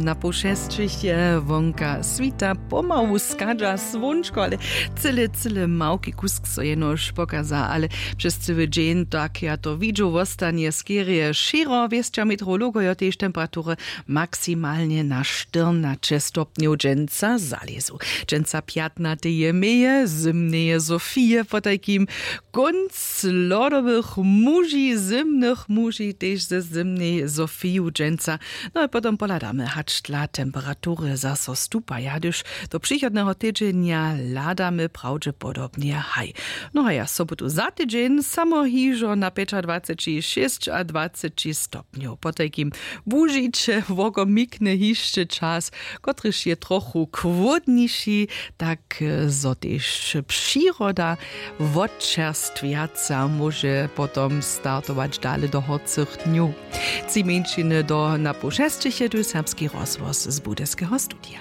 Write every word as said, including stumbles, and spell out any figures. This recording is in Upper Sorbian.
Na poł šesćich je wonka swita, pomału schadźa słónčko, ale cyle cyle małki kusk so jenož pokaza, ale přez cyły dźeń tak ja to widźu wostanje skerje šěro wěsća meteorologojo tež temperatury maksimalnje na štyrnaće stopnjow dźensa zalězu. Dźensa pjatnaty je meje zymneje sofije potajkim kónc lodowych muži zymnych muži tež ze zymnej sofiju dźensa. No a potom pohladamy hač dla temperatury zaso stupa ja hdyž do přichodneho tydźenja hladamy prawdźepodobnje haj. No a ja sobotu za tydźeń samo hižo na pjećadwaceći šěsćadwaceći stopnjow potajkim wužiće wokomikny hišće čas, kotryž je trochu chłódniši, tak zo tež přiroda wotčerstwjaca móže potom startować dale do horcych dnjow. Tři mjeńšiny do na poł šesćich je tu serbski rozhłos z budyskeho studija.